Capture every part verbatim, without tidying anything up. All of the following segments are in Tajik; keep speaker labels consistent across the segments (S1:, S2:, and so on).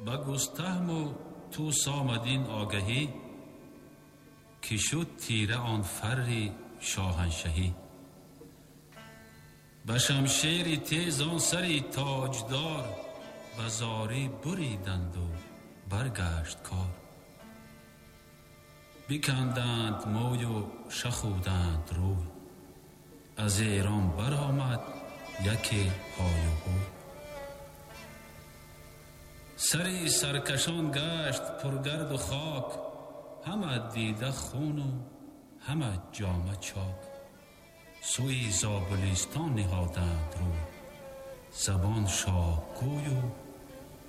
S1: Ба густаҳму тӯс омад ин огаҳӣ, ки шуд тира он фарри шоҳаншаҳӣ. Ба шамшери тез он сари тоҷдор, ба зорӣ буриданду баргашт кор. Биканданд мӯю шахуданд рӯй, аз Эрон баромад яке ҳою ҳӯй. Сари саркашон гашт пургарду хок, ҳама дида хуну ҳама ҷома чок. Сӯи Зобулистон ниҳоданд рӯй, забон шоҳгӯю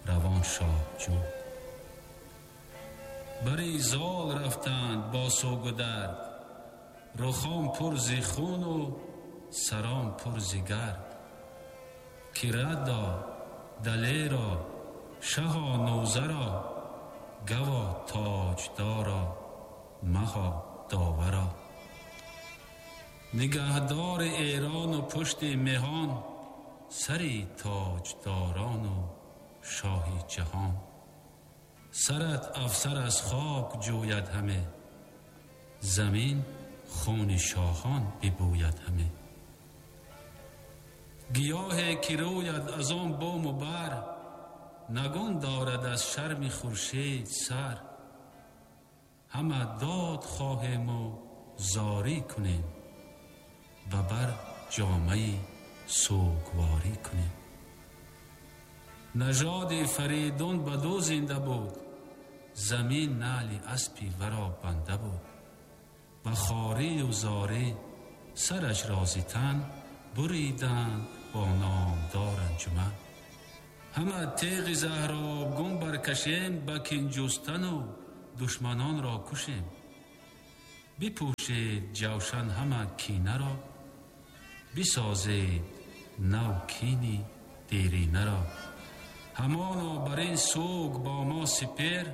S1: равон шоҳҷӯй. Бари зол рафтанд бо сугу дард, рухон пур зи хуну сарон пур зи гард. Ки радо далеро шаҳо нӯзаро, гаво тоҷдоро маҳо доваро. Нигаҳдори Эрону пушти меҳон, сари тоҷдорону шоҳи ҷаҳон. Сарат афсар аз хок ҷӯяд ҳаме, замин хуни шоҳон бибӯяд ҳаме. Гиёҳе ки рӯяд аз он бому бар, нагун дорад аз шарми хуршед сар. Ҳама дод хоҳему зорӣ кунем, ба бар ҷомаи сӯгворӣ кунем. Нажоди Фаридун ба ду зинда буд, замин наъли аспи варо банда буд. Ба хорию зорӣ сараш розитан, буриданд бо номдор анҷуман. Ҳама теғи заҳробгун баркашем, ба кин ҷустану душманонро кушем. Бипӯшед ҷавшан ҳама кинаро, бисозед нав кини деринаро. Ҳамоно бар ин суг бо мо сипер,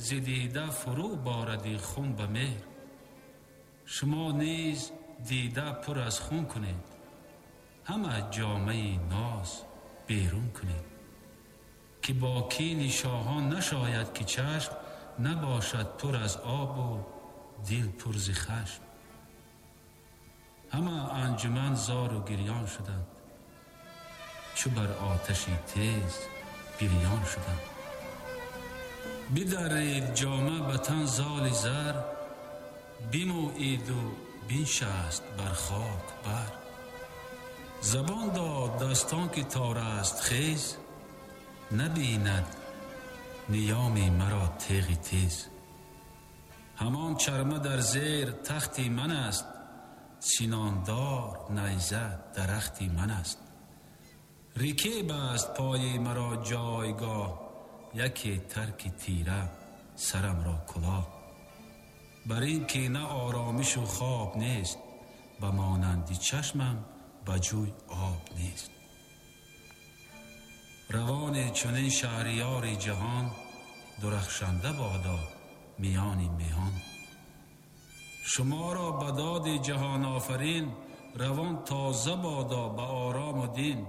S1: зи дида фурӯ боради хун ба меҳр. Шумо низ дида пур аз хун кунед, ҳама ҷомаи ноз берун кунед. Ки бо кини шоҳон нашояд ки чашм набошад пур аз обу дил пур зи хашм. Ҳама анҷуман зору гирён шуданд, чу бар оташи тез бирён шуданд. Бидарид ҷома ба тан золи зар, бимӯиду биншаст бар хок бар. Забон дод дастон ки тораст хез, набинад ниёми маро теғи тез. Ҳамон чарма дар зер тахти ман аст, синондор найза дарахти ман аст. Рикеб аст пои маро ҷойгоҳ, яке тарки тира сарамро кулоҳ. Бар ин ки на оромишу хоб нест, ба монанди чашмам ба ҷӯй об нест. Равони чунин шаҳриёри ҷаҳон, дурахшанда бодо миёни меҳон. Шуморо ба доди ҷаҳонофарин, равон тоза бодо ба орому дин.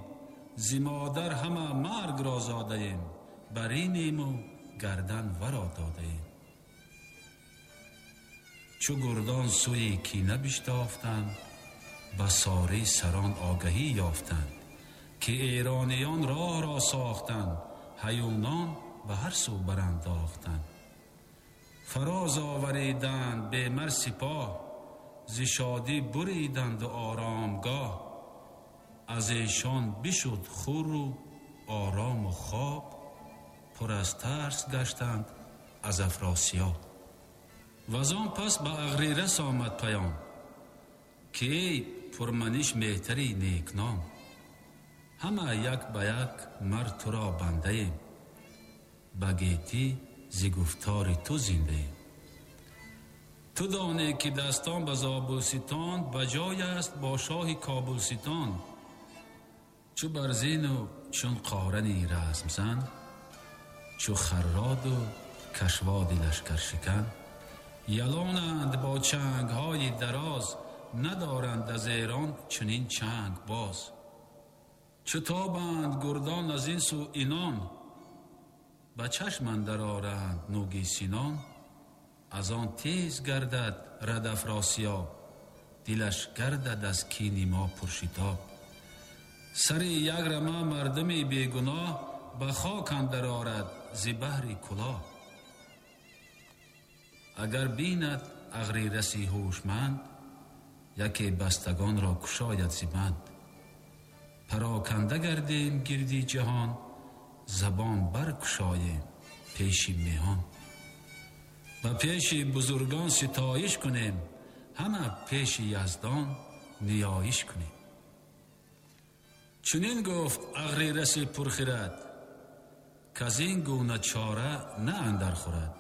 S1: Зи модар ҳама маргро зодаем, бар инему гардан варо додаем. Чу гурдон сӯи кина биштофтанд, ба сорӣ сарон огаҳӣ ёфтанд, ки эрониён роҳро сохтанд, ҳаюнон ба ҳар сӯ барандохтанд. Фароз овариданд бемар сипоҳ, зи шодӣ буриданду оромгоҳ. Аз эшон бишуд хуру орому хоб, пур аз тарс гаштанд аз Афросиёб. Ваз он пас ба Ағрирас омад паём, ки эй пурманиш меҳтари некном, ҳама як ба як мар туро бандаем, ба гетӣ зи гуфтори ту зиндаем. Ту донӣ ки дастон ба Зобулситон ба ҷой аст бо шоҳи Кобулситон. Чу барзину чун қорани размзан, чу харроду кашводи лашкаршикан, ялонанд бо чангҳои дароз, надоранд аз Эрон чунин чанг боз. Чу тобанд гурдон аз ин сӯ инон, Ба чашм андар оранд нӯги синон, аз он тез гардад рад Афросиёб, дилаш гардад аз кини мо пуршитоб. Сари як рама мардуми бегуноҳ ба хок андар орад зи баҳри кулоҳ. Агар бинад ағрираси ҳушманд, яке бастагонро кушояд зи банд. Пароканда гардем гирди ҷаҳон, забон баркушоем пеши меҳон. Ба пеши бузургон ситоиш кунем, ҳама пеши яздон ниёиш кунем. Чунин гуфт ағрираси пурхирад, каз ин гуна чора на андар хӯрад.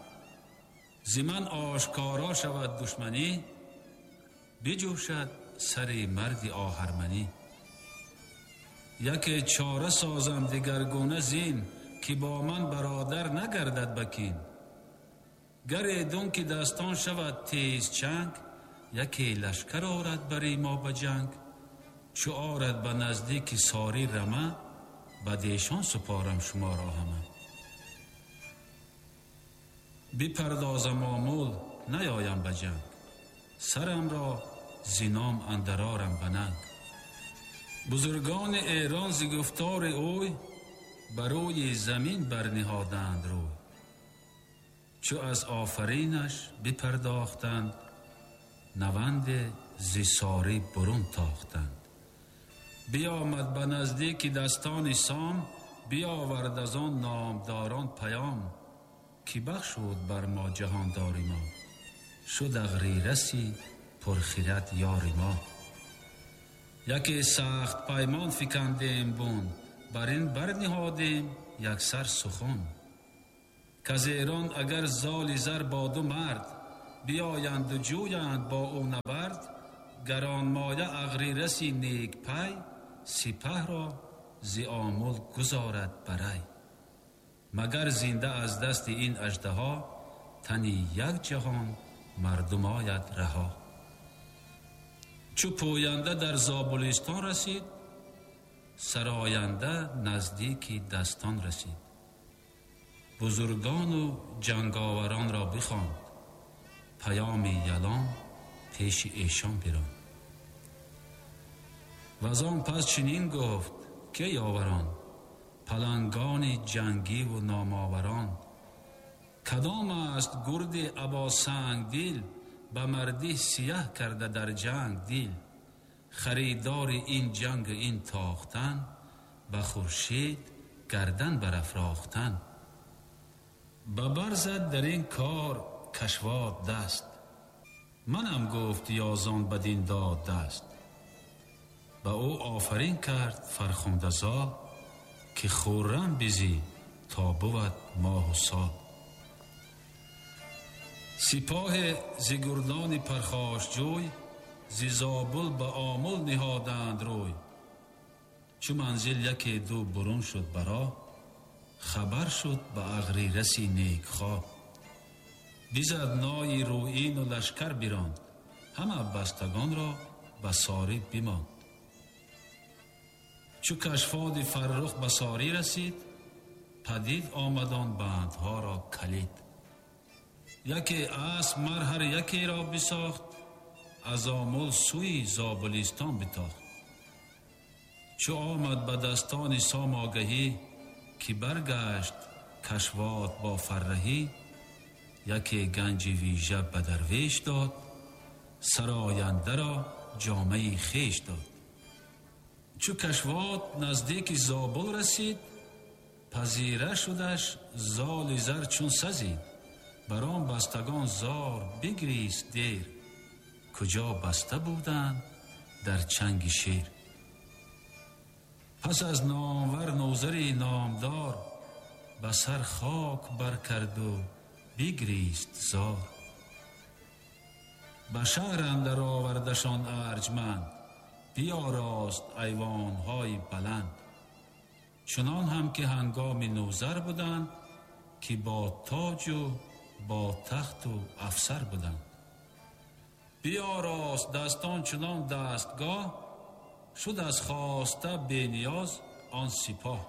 S1: Зи ман ошкоро шавад душманӣ, биҷӯшад сари марди оҳарманӣ. Яке чора созам дигаргуна зин, ки бо ман бародар нагардад ба кин. Гар эдун ки дастон шавад тез чанг, яке лашкар орад бари мо ба ҷанг. Чу орад ба наздики сори рама, ба дешон супорам шуморо ҳама. Бипардозам омул наёям ба ҷанг, сарамро зином андарорам ба нанг. Бузургони Эрон зи гуфтори ӯй ба рӯи замин барниҳоданд рӯй. Чу аз офаринаш бипардохтанд, наванде зи сорӣ бурун тохтанд. Биомад ба наздики дастони сом, биовард аз он номдорон паём, ки бахшуд бар мо ҷаҳондори мо, шуд ағрираси пурхирад ёри мо. Яке сахт паймон фикандем бун, бар ин барниҳодем яксар сухан. Каз Эрон агар золи зар бо ду мард, биоянду ҷӯянд бо ӯ набард, гаронмоя ағрираси некпай, сипаҳро зи омул гузорад барай. Магар зинда аз дасти ин аждаҳо, тани як ҷаҳон мардум ояд раҳо. Чу пӯянда дар Зобулистон расид, сароянда наздики дастон расид. Бузургону ҷанговаронро бихонд, паёми ялон пеши эшон биронд. Ваз он пас чунин гуфт ки ёварон, палангони ҷангиву номоварон, кадом аст гурди або сангдил, ба мардӣ сияҳ карда дар ҷанг дил. Харидори ин ҷангу ин тохтан, ба хуршед гардан барафрохтан. Ба бар зад дар ин кор кашвод даст, манам гуфт ёзон бадин дод даст. Ба ӯ офарин кард фархунда зол, ки хуррам бизӣ то бувад моҳу сол. Сипоҳе зи гурдони пархошҷӯй, зи Зобул ба омул ниҳоданд рӯй. Чу манзил яке ду бурун шуд ба роҳ, хабар шуд ба ағрираси некхоҳ. Бизад нои рӯину лашкар биронд, ҳама бастагонро ба сорӣ бимонд. Чу кашфоди фаррух ба сорӣ расид, падид омадон бандҳоро калид. Яке асп мар ҳар якеро бисохт, аз омул сӯи Зобулистон битохт. Чу омад ба дастони сом огаҳӣ, ки баргашт кашвод бо фарраҳӣ, яке ганҷи вижа ба дарвеш дод, сарояндаро ҷомаи хеш дод. Чу кашвод наздики Зобул расид, пазира шудаш золи зар чун сазид. Бар он бастагон зор бигрист дер, куҷо баста буданд дар чанги шер. Пас аз номвар нозари номдор, ба сар хок баркарду бигрист зор. Ба шаҳр андар овардашон арҷманд, биёрост айвонҳои баланд. Чунон ҳам ки ҳангоми нӯзар буданд, ки бо тоҷу бо тахту афсар буданд. Биёрост дастон чунон дастгоҳ, шуд аз хоста бениёз он сипоҳ.